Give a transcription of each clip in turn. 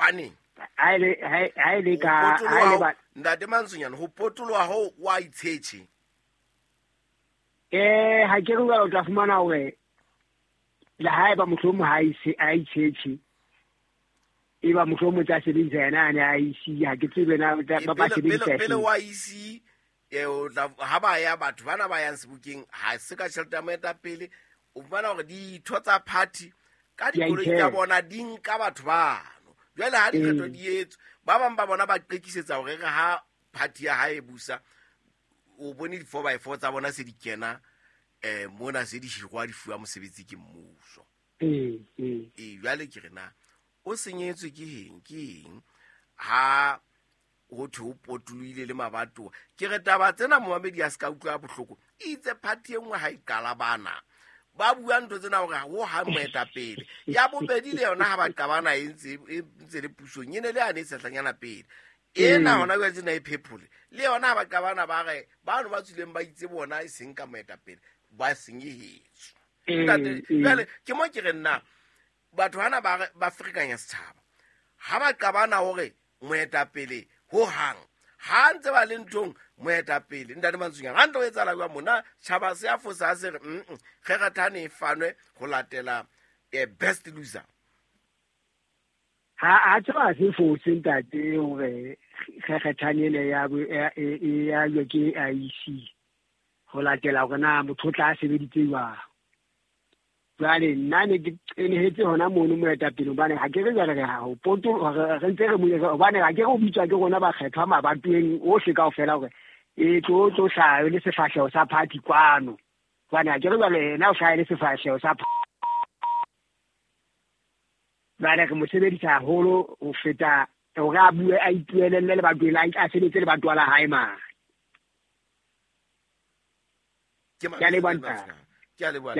Hobaneng? Ha ile ka ha ile ba Ntate Mantsonyane ho potoloha ho wa itshetjhe. Ha ke re o tla fumana hore le haeba mohlomong ha ise a itshetjhe e ba mohlomong tsa sebedisa yena a ne a isi ha ke tsebe na ba sebedisa pele wa isi o tla ha ba ya batho bana ba yang sebokeng ha se ka tjhelete ya moetapele o fumana hore ditho tsa party ka dikoloi tsa bona di nka batho bano. Jwale ha dikgetho di etswa ba bang ba bona ba qekisetsa hore re ha party ya hae busa o bone di 4x4 tsa bona se di kena mona se di hirwa di fuwa mosebetsi ke mmuso. Jwale ke re na o senyetswe ke eng ha ho thwe o potolohile le mabatowa. Ke re taba tsena momamedi a se ka utlwa bohloko itse party e nngwe ha e qala bana ba bua ntho tsena hore ho ha moetapele ya bobedi le yona ha ba qabana e ntse le pusong e ne le ane e sehlanyana pele ena hona jwale tsena e phephole le yona ha ba qabana ba re bano ba tswileng ba itse bona e seng ka moetapele ba senyehetswe. Jwale ke mo ke re nna batho hana ba ferekanya setjhaba ha ba qabana hore moetapele ho hang ha ntse ba le nthong moetapele Ntate Mantsonyane ha ntlo etsahala jwang mona tjhaba se a fosa se re kgerathane e fanwe ho latela best loser. Ha tseba se fose ntate hore kgerathane ene ya ya ke IEC ho latela hore na motho o tla sebeditse jwang. Jwale nna ne ke qenehetse hona mono moetapele hobane ha ke re jwale re ha ho poto re ntse re mo hobane ha ke re o bitswa ke rona bakgethwa mabatoweng ohle kaofela hore e tlo hlaha le sefahleho sa party kwano. Hobane ha ke re jwale yena o hlaha le sefahleho sa jwale re mo sebedisa haholo ho feta hore a bue a ipuelelle lebatoweng a sebetse lebatowa la hae mane. Ke a leboha ntate. Ke a leboha.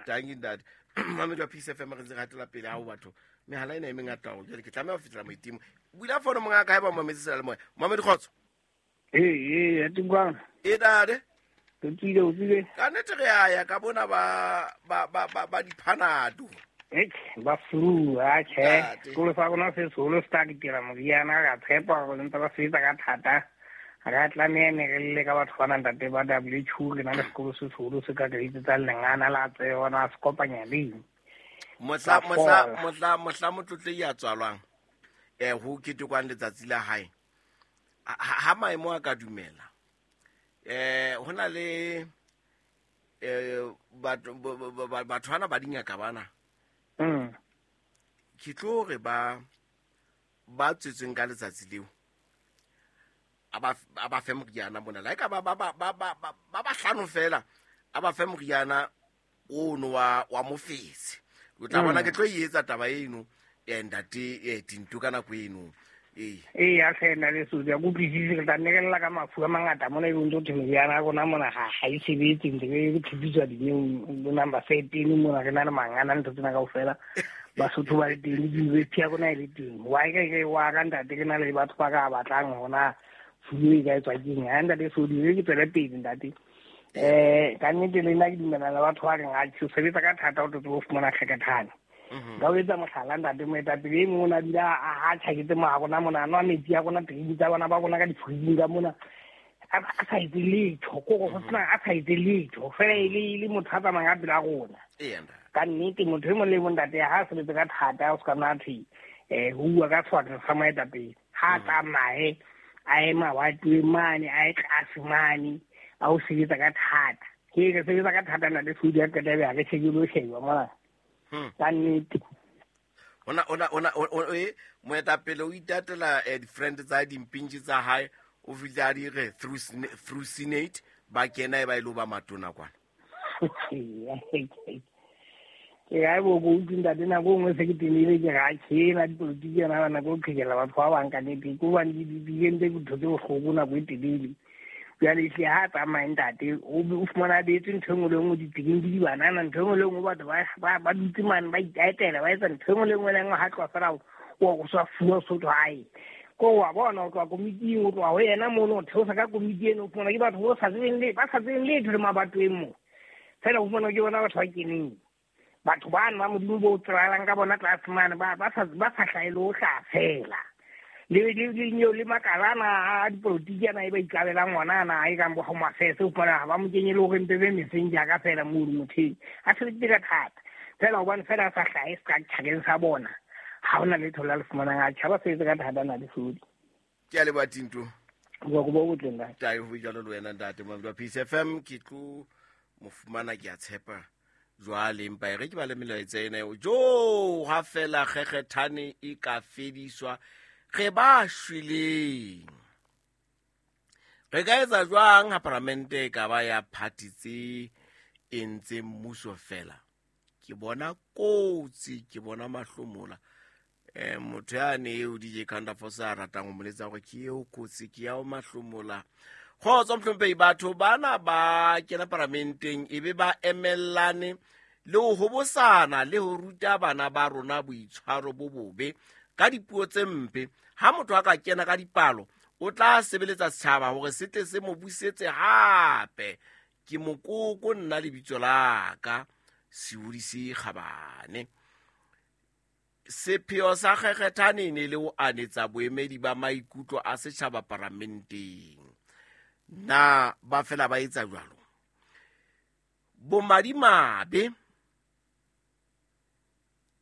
Thank you ntate. Mamedi wa Peace FM re ntse re hatela pele ha ho batho. Mehala ena e mengata haholo. Jwale ke tlameha ho fetela moitimo. Bula fono monga ka haeba mamedi sela le moya. Mamedi kgotso. Ee, atingwana. E dade. Ke tsile. Ka nnete re a ya ka bona ba diphanado. Ba flu a che. Sekolo sa rona se seholo se tla ditira moriana ra tshepa hore ntse ba sebetsa ka thata. Ra tlameha ne re lle ka batho bana ntate ba WHO re na le sekolo se seholo se ka re tsa lengana la tsena se kopanya le mohla motlotle ya tswalwang ho ketekwang letsatsi la hae ha maemo a ka dumela hona le batho bana ba dingaka bana ke tlo re ba tswetsweng ka letsatsi leo a ba fe moriana mona la ka ba bahlano fela a ba fe moriana ono wa mofetse o tla bona ke tlo e etsa taba eno ntate Tinto ka nako eno. Ee a hlena le so ya kutlwisise re tla nnekelela ka mafu a mangata mona e ntse thwe meriana ya rona mona ha e sebetse ntse re phipitswa dinyeong bo number 13 mona re na le mangana ntho tsena kaofela Basotho ba le teng university ya rona e le teng wa ke wa ka ntate ke na le batho ba ka batlang hona flu e ka etswa keng ha ntate so di ke tswele pele ntate ka nnete le nna ke dumela le batho ba reng a ke sebetsa ka thata o tlo fumana kgekethane ka o etsa mohlala ntate moetapele e mongwe o ne a dula a tjhaketse mo a rona mona a nwa metsi a rona treining tsa bona ba rona ka difridging ka mona a sa etse letho kore go sena a sa etse letho fela e le motho a tsamayang ka pela rona ka nnete motho e mong le mong ntate ha a sebetse ka thata o se ka nna thwe ho bua ka sefatla sa moetapele ha tsamaye a ye mabatoweng mane a ye tlase mane a o sebetsa ka thata ke re sebetsa ka thata ntate Sodi a qeta ebe ha re shebile o sheba mona ka nnete ona moetapele o itatela di-friend tsa dimpintši tsa hae o fihle a di re through senate ba kena e ba ile ba matona kwana ke ga bo go utlwe ntate nako nngwe se ke tenile ke ga tšhena dipolotiki yona nako o qhekela batho ba bang ka nnete ko bane di entse dintho tse bohloko nako e telele jwale ehlile ha tsamaye ntate o fumana a beetswe ntho e nngwe le nngwe ditseleng di dibanana ntho e nngwe le nngwe batho ba dutse mane ba itaetela ba etsa ntho e nngwe le nngwe le nngwe ha tloha fela o sa fuwa sotho hae ko wa bona o tloha komiting o tloha ho yena mono o theosa ka komiti eno o fumana ke batho ba sa tsebeng letho le mabatoweng moo fela o fumana ke bona batho ba keneng. Batho bano ba Modimo bo tsebahalang ka bona tlase mane ba ba sa ba sa hlahele ho hlaha fela. Le le le nyeo le makala ana a dipolotiki ana e ba ikabelang ona ana a e kang bo Home Affairs, o fumana ha ba mo kenye le hore mpe be messenger ka fela mono motheng. A sebeditse ka thata. Fela hobane fela a sa hlahe structure-eng sa bona. Ha hona letho la le fumanang a tjha ba sebetse ka thata na le sodi. Ke a leboha Tinto. Boko bo botle ntate. Tae ho jalo le wena ntate Mamedi wa Peace FM ke tlo mo fumana ke a tshepa. Jwale empa e re ke ba le melaetsa ena eo jo ha fela kgekgethane e ka fediswa re ba shweleng re ka etsa jwang ha paramente e ka ba ya party tse entseng mmuso fela ke bona kotsi ke bona mahlomola motho yane eo DJ Counterforce a ratang ho moletsa hore ke eo kotsi ke ya o mahlomola kgotso mohlomphei batho bana ba kena paramenteng e be ba emellane le ho hobosana le ho ruta bana ba rona boitshwaro bo bobe ka dipuo tse mpe ha motho a ka kena ka dipalo o tla sebeletsa setjhaba hore se tle se mo busetse hape ke mokoko nna lebitso la ka Seodi se kgabane sepheo sa kgekgethane e ne le ho anetsa boemedi ba maikutlo a setjhaba paramenteng na ba fela ba etsa jwalo bomadimabe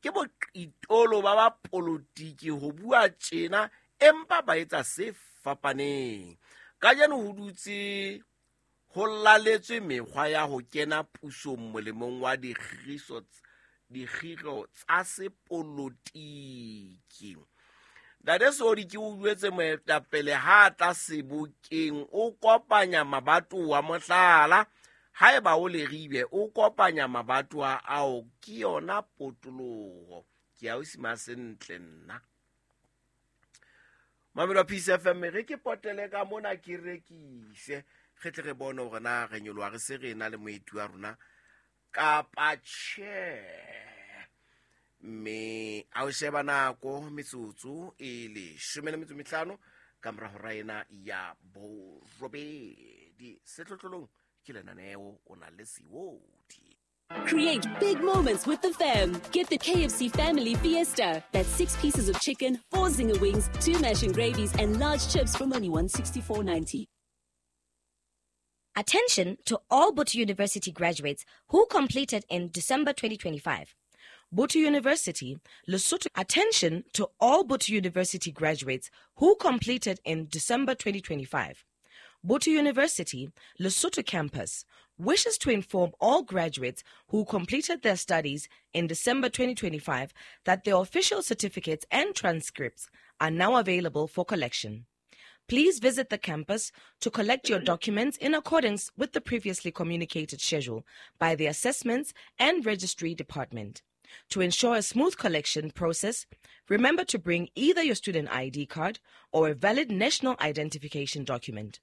ke boqitolo ba ba polotiki ho bua tjena empa ba etsa se fapaneng kajeno ho dutse ho laletswe mekgwa ya ho kena pusong molemong wa dikgiro tsa sepolotiki Ntate Sodi ke o jwetse moetapele ha tla sebokeng o kopanya mabatowa mohlala haeba o leribe o kopanya mabatowa ao ke yona potoloho ke ya o sima sentle nna Mamelo Peace FM re ke potele ka mona ke rekise re tle re bone hore na re nyoloha re se re na le moeti wa rona kapa tjhe mme a o sheba nako metsotso e leshome le metso mehlano ka mora hora ena ya borobedi sehlohlolong ke lenaneo o na le seodi Create big moments with the fam. Get the KFC Family Fiesta. That's 6 pieces of chicken, 4 zinger wings, 2 mash and gravies, and large chips from only $164.90. Attention to all Botho University graduates who completed in December 2025. Botho University, Lesotho. Attention to all Botho University graduates who completed in December 2025. Botho University, Lesotho campus, wishes to inform all graduates who completed their studies in December 2025 that their official certificates and transcripts are now available for collection. Please visit the campus to collect your documents in accordance with the previously communicated schedule by the Assessments and Registry Department. To ensure a smooth collection process, remember to bring either your student ID card or a valid national identification document.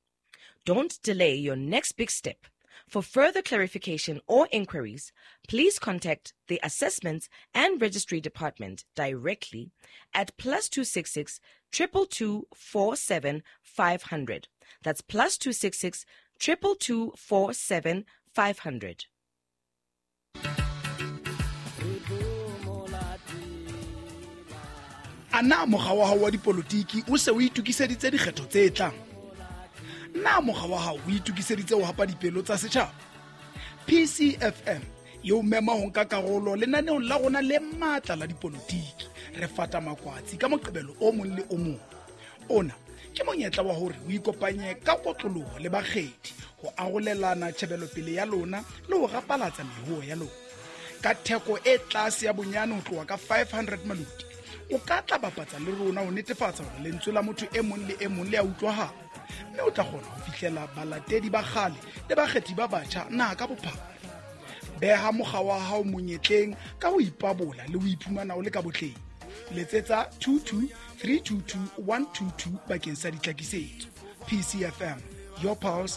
Don't delay your next big step. For further clarification or inquiries, please contact the Assessments and Registry Department directly at +266 222 47 500. That's +266 222 47 500. A na mokga wa hao wa dipolotiki o se o itokiseditse dikgetho tse tlang? Na mokga wa hao o itokiseditse ho hapa dipelo tsa setjhaba? PCFM e o mema ho nka karolo lenaneong la rona le matla la dipolotiki. Re fata makwatsi ka moqebelo o mong le o mong. Ona ke monyetla wa hore o ikopanye ka kotloloho le bakgethi ho arolelana tjhebelopele ya lona le ho rapalatsa mehuo ya lona. Ka theko e tlase ya bonyane ho tloha ka 500 maloti, o ka tla bapatsa le rona ho netefatsa hore lentswe la motho e mong le e mong le a utlwahala, mme o tla kgona ho fihlela balatedi ba kgale le bakgethi ba batjha naha ka bophara. Beha mokga wa hao monyetleng ka ho ipabola le ho iphumana o le ka botleng. Letsetsa 22 322 122 bakeng sa ditlhakisetso. PCFM, your pulse,